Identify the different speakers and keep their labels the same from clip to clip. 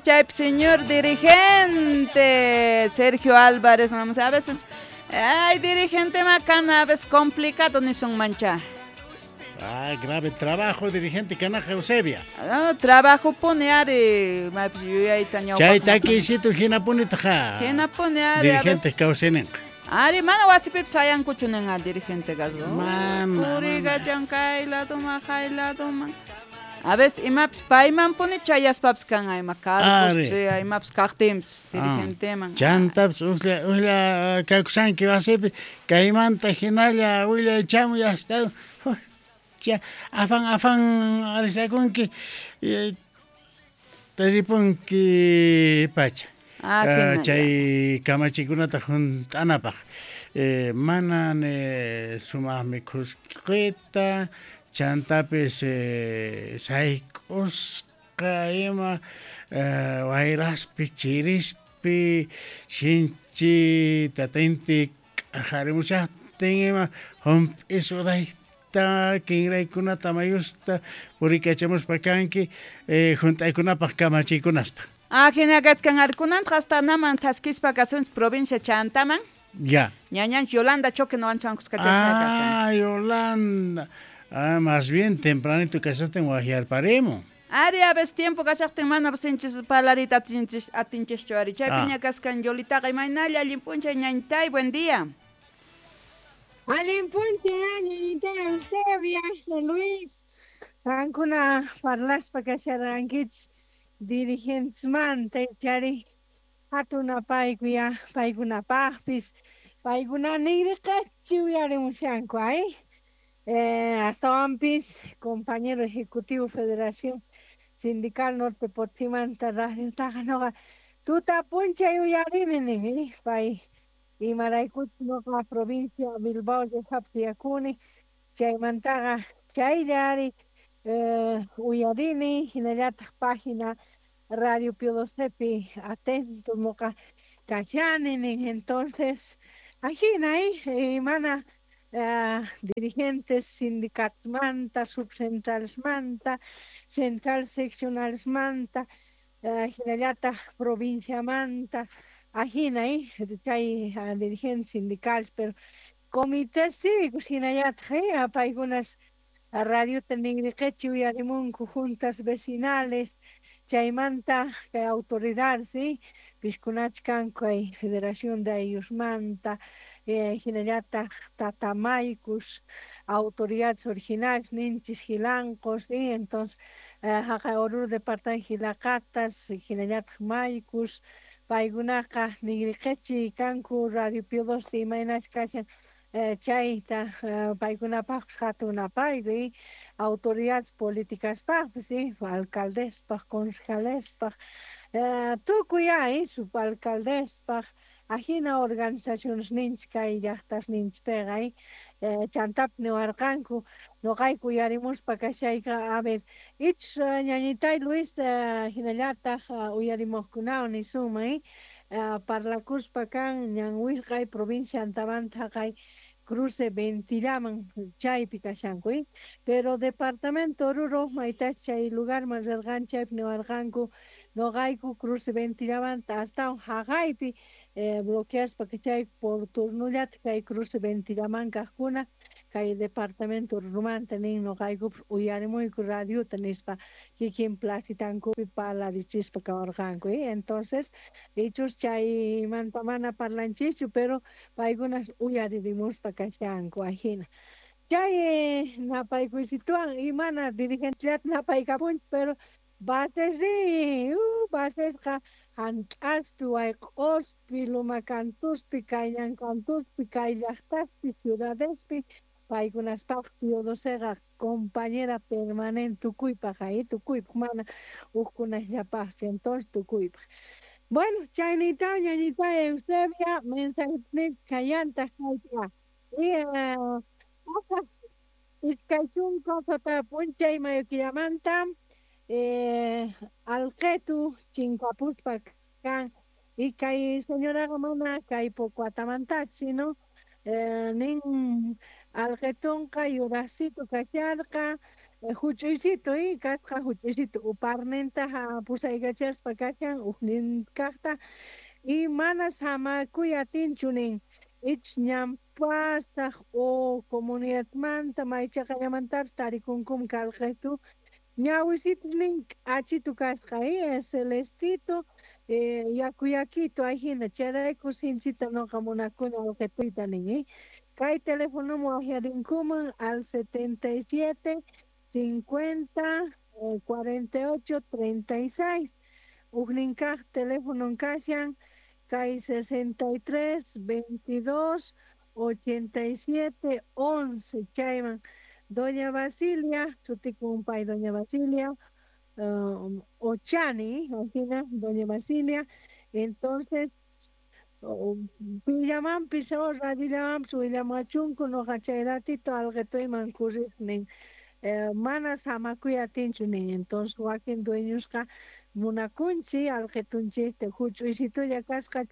Speaker 1: Chaypi señor dirigente Sergio Álvarez, vamos a veces, ay, dirigente macana, a veces complicado ni son mancha.
Speaker 2: Ah, grave trabajo, dirigente kanaqa Eusebia.
Speaker 1: Ah, trabajo pone ari, maypis yuyayta
Speaker 2: Chay takiysito hinapunitaqa.
Speaker 1: Hinapuni ari.
Speaker 2: Dirigente kawsayninqa.
Speaker 1: Ari, mana wasipipis sayankuchu ninqa dirigente kasqa.
Speaker 2: Mana,
Speaker 1: Purikachan kay laduman, hay laduman. A veces imapis paymanpuni chayaspapis kan ima cargos, imapis kaqtinpis dirigenteman.
Speaker 2: Chantapis uslla uslla kakusanki wasipi kaymanta hinalla willay chamuy hasta cha afan afan arisakunki ripunki pacha. Chay kamachikunata hunt'anapaq mana sumaq mikhusqita chantapis sayk'usqa ima wayraspi chirispi sinchi tatinti k'ajarimushaqtin ima hump'i sudayta kinraykunata mayusta purikachamuspa kanki hunt'aykunapaq kamachiykunasta.
Speaker 1: Ah, hina kachkan arikunanta hasta naman thaskispa kasunchis provincia Chantaman.
Speaker 2: Ya.
Speaker 1: Ñañanchis Yolanda Choque noqanchis kuskachasqa kasan.
Speaker 2: Ah, Yolanda. Ah, más bien tempranito kashaqtin waqyarparimo.
Speaker 1: Ari, a veces tiempo kashaqtin mana sinchis parlarita atinchischu ari. Chaypiña kaskan Yolitaqa imaynalla allin p'unchay ñañitay, buen día.
Speaker 3: Allin p'unchay ñañitay Eusebia, Luis. Qankuna parlaspa kasharqankichis dirigentesmanta chari hatun apaykuya paykunapaqpis paykuna ninriqachi uyarimushanku ay. Astawanpis compañero ejecutivo Federación Sindical Norte Potosímanta radiotaqa noqa tuta p'unchay uyarini nin pay imaraykuchus noqa provincia Bilbao llaqtapi tiyakuni chaymantaqa chaylla ari uyarini hinallataq página Radio Pío XII atento noqa kachani nin entonces ajina mana dirigentes sindicatmanta, subcentralesmanta, central seccionalesmanta, hinallataq provinciamanta, ajina chay dirigentes sindicales, pero comités cívicos hinallataq paykunas radiota ninriqichi uyarimunku juntas vecinales, chaymanta kay autoridades, piskunachus kanku kay Federación de Ayllusmanta, hinallataq tatamaykus, autoridades originales ninchis hilancos, entonces haqay Oruro departamento hilaqatas, hinallataq maykus, paykunaqa ninriqichi kanku Radio Pío XII imaynachus kashan chayta paykunapaqpis hatun apayku autoridades políticaspaqpis alcaldespaq, concejalespaq, tukuy subalcaldespaq, ajina organizaciones ninchis kay llaqtas ninchispiqa chantapis niwarqanku noqayku uyarimuspa kashayqa a ver ichus ñañitay Luis hinallataq uyarimuqkunawan nisunman parlakuspa kan ñan wisq'ay provincia Antabanta haqay cruce Ventillaman chaypi kashanku pero departamento Oruro maytachus chay lugarman rirqan chaypi niwarqanku noqayku cruce Ventillamanta astawan haqaypi bloqueaspa kachayku por turnullata kay cruce Ventillaman kaqkuna kay departamento Orurumanta nin noqaykupas uyarimuyku radiota nispa kikin placitankupi parlarichispa kawarqanku entonces ichus chaymanta mana parlanchikchu pero paykunas uyaririmuspa kashanku ajina chay napaykuysituwan y mana dirigentellata napaykapunchik pero basesri basesqa hant'aspi wayq'ospi lumakantuspi kayñankantuspi kay llaqtaspi ciudadespi paykunaspaq Pío XIIqa compañera permanente tukuypaq tukuypaq mana hukkunasllapaqchu entonces tukuypaq. Bueno, chaynita ñañita Eusebia mensaje kayantaq kayta y iskay chunka sapa p'unchay mayo killamanta alqetu chinkapuspa kan y kay señoraqa mana kay poco atamantachu sino nin alqetunqa yuraqsitu kasharqa Huch'uysitu kasqa huch'uysitu uparninta pusaykachaspa kashan ujnin kaqta y mana samakuy atinchu nin ich ñanpasaq o comunidadmanta maychaqallamantapis tarikunkum kalqetu ñawisitu nin k'achitu kasqa celestito yakuyakito ahina chayrayku sinchita noqa munakuni alqituyta nin kay teléfono waqyarinkuman al 77 50 48 36 ujnin kaq teléfono kashan kay 63 22 87 11 chayman Doña Basilia sutikun pay Doña Basilia Ochani, ajina Doña Basilia, entonces pillamanpis o radillamanpis willamachunku noqa chay ratito alqituyman kurriq nin mana samakuy atinchu nin entonces wakin dueñosqa munakunchik alqitunchikta huch'uysitulla kasqa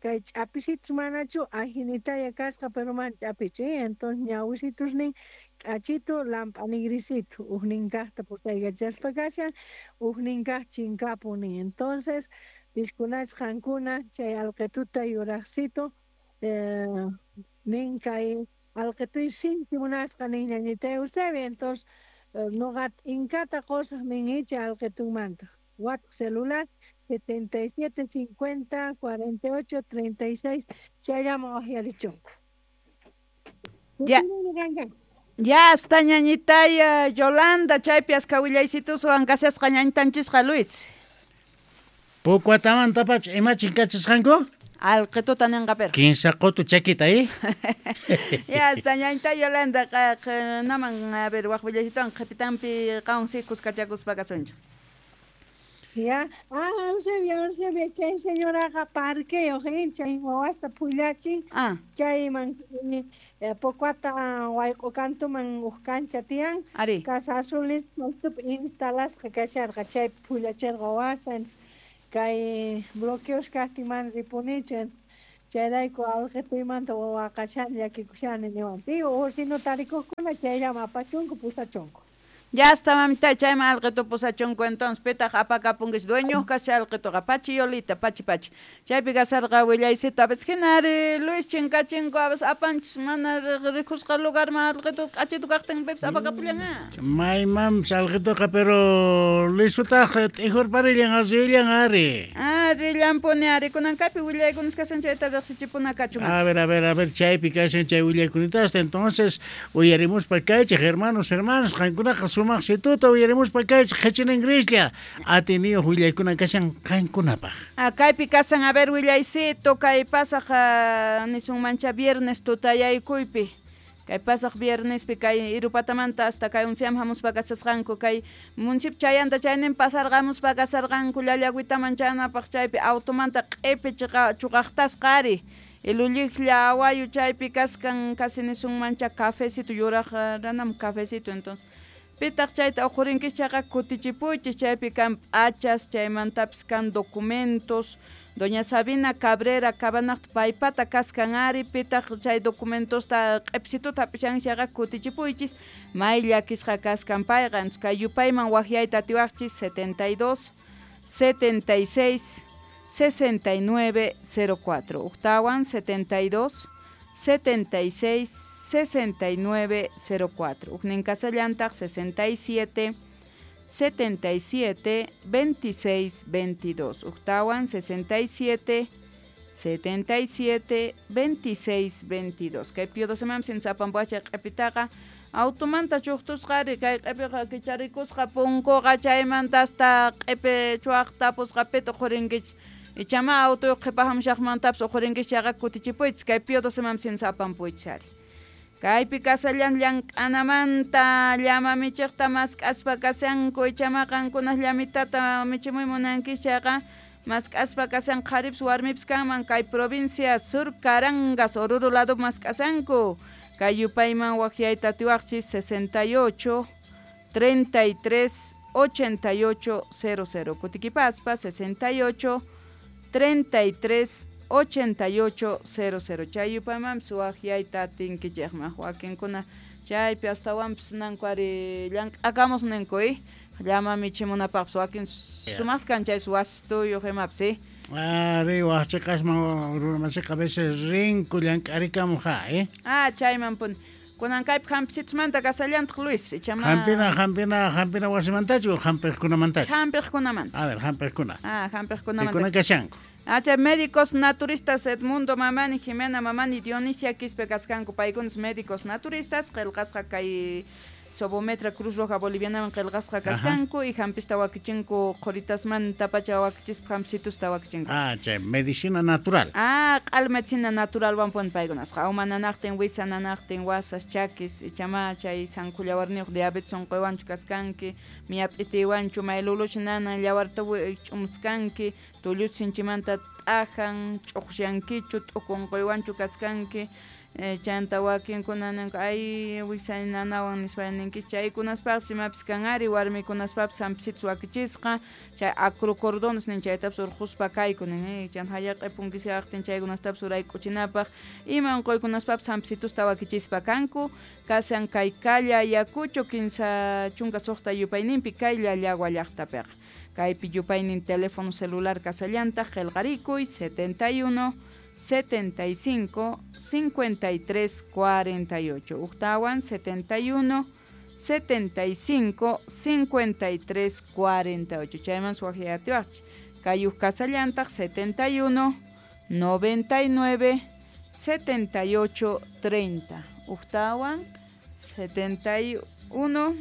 Speaker 3: kay ch'apisitus manachu ajinitalla kasqa pero mana ch'apichu entonces ñawisitus nin k'achitu lamp'anigrisitu ujnin kaqta pusaykachaspa kashan ujnin kaq chinkapun nin entonces piskunach qankuna chay alqituta yuraqsitu nin kay alqituy sinchi munasqa nin ñañita Eusebia entonces noqa t'inkata qusaq nin chay alqitunmanta wat celular 77 50 48 36 chayllaman waqyarichunku.
Speaker 1: Ya. Ya hasta ñañitaya Yolanda chaypi aska willaysituswan kasasqa ñañitanchisqa Luis.
Speaker 2: Pukuatamantapacha imachin kachasqanku?
Speaker 1: Alqituta ninqa pero.
Speaker 2: Kinsa qutu chakita
Speaker 1: Ya hasta ñañita Yolanda naman a ver waq willaysitawan qhipitanpi qanwan si kuskachakuspa kasunchik.
Speaker 3: Ya, Eusebio, chay señoraqa parqueyuq chay wawasta phullachin chayman Pocuata wayq'u kantuman uj kancha tiyan Casa Azul nisqapi instalasqa kasharqa chaypi phullachirqa wawasta kay bloqueos kaqtin mana ripunichu chayrayku alqituymanta waqashani llakikushani niwan o si no tarikuqkuna chayllaman apachunku pusachunku.
Speaker 1: Ya está mamita chayman alqitu pusachunku entonces pitaq apakapunkish dueño kasha alqituqa pachi Yolita pachi pachi chaypi kasarqa willaysita a veces hinari Luis chinkachinku a veces apanchis mana rikusqa lugarman alqitu k'achitu kaqtin pipis apakapullan
Speaker 2: maymanpis alqituqa pero lisutaq t'ijurparillan asillan ari
Speaker 1: rillanpuni ari kunan kaypi willaykunas kashan chayta riqsichipuna kachun
Speaker 2: a ver chaypi kashan chay willaykunitasta entonces uyarimuspa kaychik hermanos hermanas qankunaqa sumaqsituta uyarimuspa kaychik qhichinin grislla atiniyuq willaykuna kashan qankunapaq.
Speaker 1: Kaypi kasan a ver willaysito kay pasaq nisunmancha viernes tutayaykuypi kay pasaq viernespi kay Irupatamanta hasta kay unsiam hamuspa kasasqanku kay municipio chayanta chaynin pasarqamuspa kasarqanku llallagüitaman chanapaq chaypi automanta q'ipi chuqaqtasqa ari Ilulliqlla awayu chaypi kaskan casi nisunmancha cafecito yuraq ranam cafecito entonces pitaq chayta uqhurinkish chayqa kutichipuychis chaypi kan p'achas chaymantapis kan documentos Doña Sabina Cabrera Cabanaqta paypata kaskan ari pitaq chay documentosta q'ipsituta hap'ishanki chayqa kutichipuychis may llakisqa kaskan payqa kay yupayman waqyayta atiwaqchis 72 76 69 04 uktawan 72 76 69 04 ujnin kasallantaq 67 77 26 22 uktawan 67 77 26 22 kay pio 12 mam sin sapanpuacha q'ipitaqa automanta chuqtusqari kay q'ipiqa kicharikusqa punkuqa chaymanta hasta q'ipi chuaqta pusqa pita uqhurinkichis ichama autoyuq qhipahamshaqmantapis uqhurinkichis chayqa kutichipuychis kay pio 12 mam sin sapanpuychis ari kaypi kasallan llank'anamanta llama michiqta mask'aspa kashanku ichama qankunaq llamitata michimuy munankichis chayqa mask'aspa kashan qharipis warmipis kanman kay provincia Sur Carangas Oruro lado mask'asanku kay yupayman waqyayta atiwaqchis 68 33 88 00 kutikipaspa 68 33 88 00 chay yupaymanpis waqyayta atinkichikman wakinkuna Chaypi astawanpis nanku ari llank'akamus ninku llama michimunapaqpis wakin sumaq kan chay wasituyuq imapis
Speaker 2: Ari waqchiqasman runamasiqa a veces rinku llank'arikamuq
Speaker 1: Ah, chayman puni. Kunan kaypi hampisitusmanta kasallantaq Luis, ichama
Speaker 2: Hampina wasimantachu hampiqkunamantachu?
Speaker 1: Hampiqkunamanta.
Speaker 2: A ver, hampiqkuna.
Speaker 1: Ah, hampiqkunamanta.
Speaker 2: Pikuna kashanku.
Speaker 1: Ah, chay médicos naturistas Edmundo Mamani, Jimena Mamani, Dionisia Quispe kaskanku paykunas médicos naturistas qillqasqa kay Sobometra Cruz Roja Bolivianaman qillqasqa kaskanku y hampista wakichinku qhuritasmanta pacha wakichispa hampisitusta wakichinku.
Speaker 2: Ah, chay medicina natural.
Speaker 1: Ah, q'al medicina naturalwan pun paykunasqa. Uma nanaqtin, wisa nanaqtin, wasas, chakis, ichama chay sankullawarniyuq diabetes unquywanchu kaskanki, miyap'itiwanchu, mayluluch nanan, llawarta ch'umuskanki, tulluch sinchimanta t'ajan, ch'uqsyankichu, t'uku unquywanchu kaskanki. Chanta wakinkuna ninku ay wisay nanawan nispa ninkichis chaykunaspaqpis imapis kan ari warmikunaspapis hampisitus wakichisqa chay acrocordones nin chaytapis urquspa kayku nin chanta hallaq'i punkisqaqtin chaykunastapis urayk'uchinapaq ima unquykunaspapis hampisitusta wakichispa kanku kasan kay Calle Ayacucho 16 yupayninpi kay Llallagua llaqtapiqa kaypi yupaynin teléfono celular kasallantaq qillqarikuy 71 75 53 48 Uqtawan 71 75 53 48 chayman suwaqyatiwaqchik kay huk kasallantaq 71 99 78 30 Uqtawan 71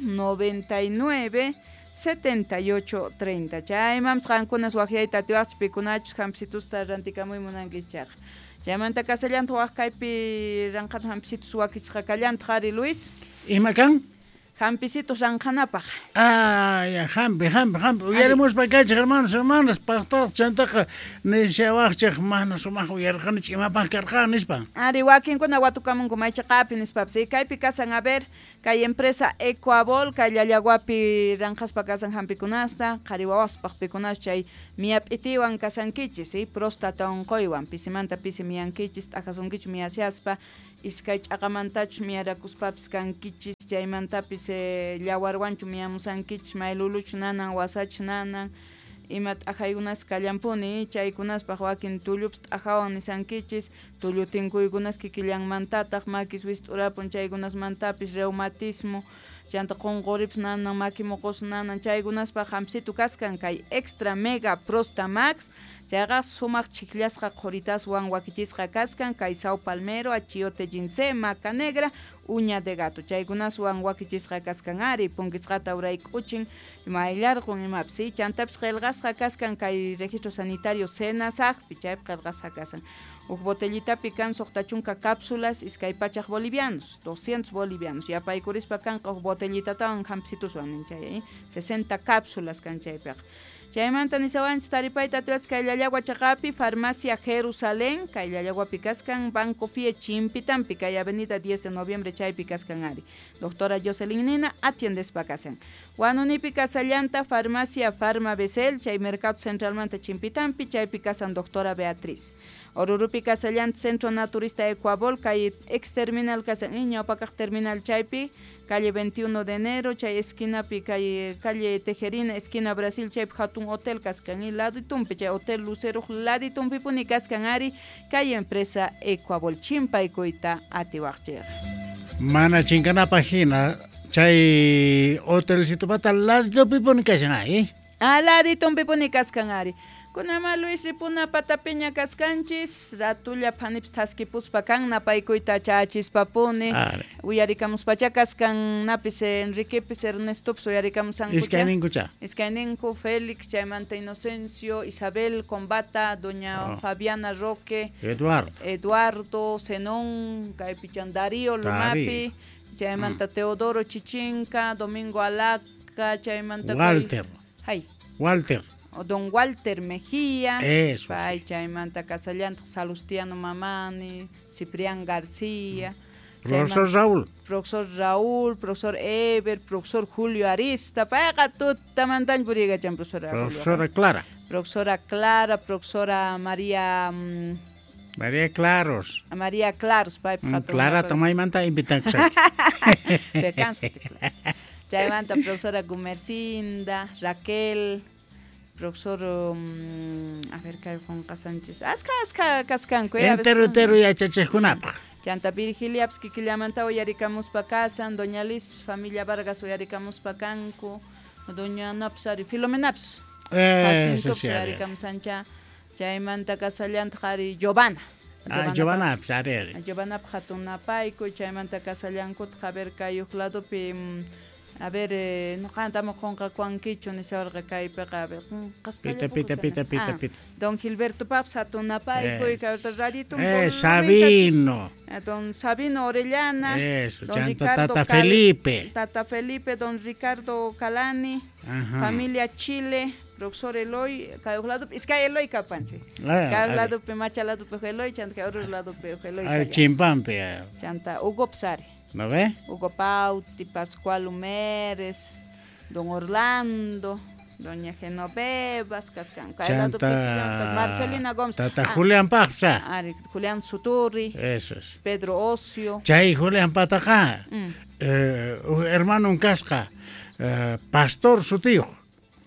Speaker 1: 99 78 30 chaymanpas qankunas waqyayta atiwaqchik pikunachus hampisitusta rantikamuy munankichik chayqa chaymanta kasallantaq waq kaypi ranqhata hampisitus wakichisqa kallantaq ari Luis.
Speaker 2: Ima kan?
Speaker 1: Hampisitus ranqhanapaq.
Speaker 2: Ah, ya hampi. Uyarimuspa kaychik hermanos, hermanas, paqtataq chantaqa nishawaqchik mana sumaq uyarqanichik imapaq karqan nispa.
Speaker 1: Ari wakinkuna watukamunku maychiqapi nispapis. Kaypi kasan a ver, kay empresa Ecuabol, kay Llallaguapi ranqhaspa kasan hampikunasta, qhari wawaspaq pikunas chay miyap'itiwan kasankichis, próstata unquywan, pisimanta pisi miyankichis, t'ajasunkichis miyasiaspa, iskay ch'aqamantachus miyarakuspapis kankichis, chaymantapis llawarwanchu miyamusankichis, mayluluchu nanan, wasachu nanan, ima t'ajaykunas kallanpuni, chaykunaspaq wakin tullupis t'ajawan nisankichis, tullu tinkuykunas kikillanmantataq, makis wist'urapun chaykunasmantapis reumatismo, chanta qunquripis nanan, maki muqus nanan, chaykunaspaq hampisitu kaskan kay Extra Mega Prosta Max, chayqa sumaq chikllasqa qhuritaswan wakichisqa kaskan kay Sao Palmero, achiote ginseng, maca negra, uña de gato, chaykunaswan wakichisqa kaskan ari, punkisqata urayk'uchin, mayllarqun imapis, chantapis qillqasqa kaskan kay registro sanitario SENASAGpi, chaypi qillqasqa kasan. Huk botellitapi kan 60 cápsulas, 200 bolivianos, 200 bolivianos. Yapaykurispa kanqa huk botellitatawan hampisitushwan chay, 60 cápsulas kan chaypiqa. Chaymanta nisawanchis taripayta atiwachis kay Llallagua chaqapi, Farmacia Jerusalén, kay Llallaguapi kaskan, Banco Fie Chimpitampi, kay Avenida 10 de Noviembre chaypi kaskan ari. Doctora Jocelyn Nina atiendespa kasan. Huanunipi kasallanta, Farmacia Farma Besel, chay Mercado Centralmanta Chimpitampi, chaypi kasan doctora Beatriz. Orurupi kasallanta, Centro Naturista Ecuabol, kay ex terminal kasan, ñawpakaq terminal chaypi, calle 21 de enero, chay esquinapi, calle Tejerina, esquina Brasil, chay hatun hotel kaskan, y laditumpi, chay hotel Lucero, laditumpi puni kaskan ari, kay empresa Ecuabol, chimpaykuyta atiwaqchik.
Speaker 2: Mana chinkanapaq hina, chay hotelcitopata laditumpi puni kashan ari.
Speaker 1: Ah, laditumpi puni kaskan ari. Kunama Luis ripuna patapiña kaskanchis, ratulla phanipis thaskipuspa kan napaykuyta chachispapuni, uyarikamuspacha kaskan napis Enriquepis Ernestopis uyarikamusankucha.
Speaker 2: Iskayninkucha.
Speaker 1: Iskayninku Félix, chaymanta Inocencio, Isabel Combata, doña Fabiana Roque, Eduardo, Zenón, kaypichan Darío Lumapi, chaymanta Teodoro Chichinca, Domingo Alaca, chaymanta
Speaker 2: Walter.
Speaker 1: Hay.
Speaker 2: Walter.
Speaker 1: Don Walter Mejía,
Speaker 2: eso,
Speaker 1: pay, sí. Chaymanta kasallantaq Salustiano Mamani, Ciprián García,
Speaker 2: Profesor Raúl.
Speaker 1: Profesor Raúl, profesor Eber, profesor Julio Arista, payqa tutamantañ puriykachan profesora Julio.
Speaker 2: Profesora Clara.
Speaker 1: Profesora Clara, profesora María
Speaker 2: María Claros.
Speaker 1: María Claros paypaq hatun
Speaker 2: Clara
Speaker 1: napaykuy.
Speaker 2: tomaymanta invitankusayki.
Speaker 1: Pecanso, chaymanta profesora Gumercinda, Raquel, profesor a ver kay qunqasanchis. Aska aska kaskanku, a veces
Speaker 2: Entero entero yachachiqkunapaq.
Speaker 1: Chanta Virgiliapas kikillamanta uyarikamuspa kasan, doña Lispis, familia Vargas uyarikamuspa kanku, doña Anapas ari Filomenapas.
Speaker 2: Eso
Speaker 1: Jacintopas
Speaker 2: sí, ari.
Speaker 1: uyarikamusancha. Chaymanta kasallantaq ari Giovanna.
Speaker 2: Ah, Giovanna, pues, ari, ari.
Speaker 1: Giovanna hatun napaykuy, chaymanta kasallankutaq a ver kay huk ladopi a ver nuqanta qunqakuwankichu nishawarqa kaypiqa a ver
Speaker 2: Pita, pita, pita, pita, pita.
Speaker 1: Don Gilberto Paps hatun napaykuy,
Speaker 2: Eso.
Speaker 1: kay radito
Speaker 2: Sabino.
Speaker 1: Don Sabino Orellana.
Speaker 2: Eso,
Speaker 1: don
Speaker 2: chanta
Speaker 1: Ricardo
Speaker 2: Tata
Speaker 1: Cal-
Speaker 2: Felipe.
Speaker 1: Tata Felipe, don Ricardo Calani,
Speaker 2: Ajá.
Speaker 1: familia Chile, profesor Eloy, kay huk ladopi, iskay Eloy kapansi.
Speaker 2: Ah,
Speaker 1: Kay
Speaker 2: ari.
Speaker 1: ladopi macha ladopi Eloy, chanta kay otro ladopi Eloy.
Speaker 2: Ari
Speaker 1: kallan.
Speaker 2: chimpampi. Ah.
Speaker 1: Chanta Hugo Psari.
Speaker 2: ¿No ve?
Speaker 1: Hugo Pauti, Pascual Humérez, don Orlando, doña Genoveva, kaskan. Kay ladopi
Speaker 2: Chanta
Speaker 1: Marcelina Gómez.
Speaker 2: Tata
Speaker 1: Ah,
Speaker 2: Julián Paqcha.
Speaker 1: Ari, Julián Suturri,
Speaker 2: Eso es.
Speaker 1: Pedro Ocio.
Speaker 2: Chay Julián Pataqa. Hermano kasqa, pastor sutiyuq.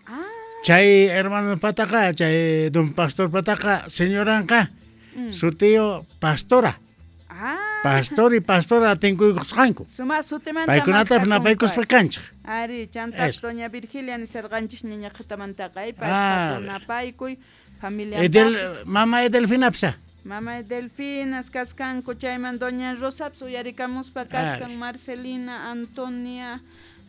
Speaker 1: Ah,
Speaker 2: Chay hermano pataqa, chay don pastor pataqa, señoranqa, sutiyo pastora.
Speaker 1: ah.
Speaker 2: Pastor y pastora tinkuykusqanku.
Speaker 1: Suma sutimanta
Speaker 2: Paykunata
Speaker 1: mask'akunku,
Speaker 2: napaykuspa
Speaker 1: ari.
Speaker 2: kanchik.
Speaker 1: Ari, chanta
Speaker 2: Eso.
Speaker 1: doña Virgilia nisarqanchis ñiñaqhatamantaqa, ay,
Speaker 2: Ah,
Speaker 1: paypa napaykuy, familia
Speaker 2: Edel, mama Edelfinapsa.
Speaker 1: Mama Delfinas kaskanku, chayman doña Rosaps uyarikamuspa kaskan,
Speaker 2: Ari.
Speaker 1: Marcelina, Antonia,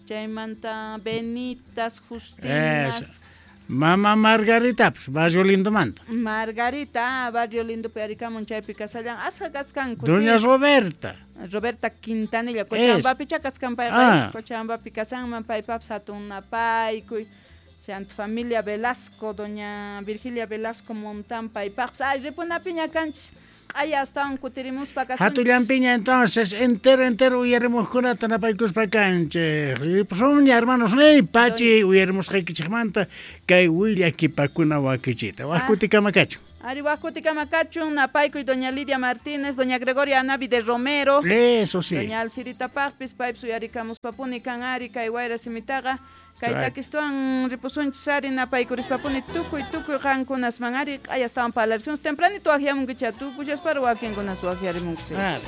Speaker 1: chaymanta Benitas, Justinas,
Speaker 2: Eso. Mama Margaritaps, barrio lindomanta.
Speaker 1: Margarita, ah, barrio lindo uyarikamun chaypi kasallan, asqa kaskanku,
Speaker 2: Doña
Speaker 1: sí.
Speaker 2: Roberta.
Speaker 1: Roberta Quintanilla, Cochabambapicha kaskan payqa,
Speaker 2: Ah.
Speaker 1: Cochabambapi kasanman paypapas hatun napaykuy, chanta familia Velasco, doña Virgilia Velasco Montán paypaqpas, ay ripunapiña kanchis, q'aya astawan kutirimuspa kasunchis.
Speaker 2: Hatullampiña entonces, entero, entero uyarimuqkunata napaykuspa kanchik. Ripusunña, hermanos, ney, pachi uyarimusqaykichikmanta kay willakipakuna wakichita. Waq
Speaker 1: Ah.
Speaker 2: kutikama kachun.
Speaker 1: Ari waq kutikama kachun, napaykuy doña Lidia Martínez, doña Gregoria Anavi de Romero.
Speaker 2: Eso sí.
Speaker 1: Doña Alcirita Paqpis, paypis uyarikamuspapuni kan ari kay wayra simitaqa. Kay
Speaker 2: Chay.
Speaker 1: takistuwan ripusunchis ari napaykuриspapuni tukuy tukuy qankunasman ari q'aya astawan parlarisunchis tempranito waqyamunkicha tukushaspa wakinkunas waqyarimunkusi.
Speaker 2: Ah.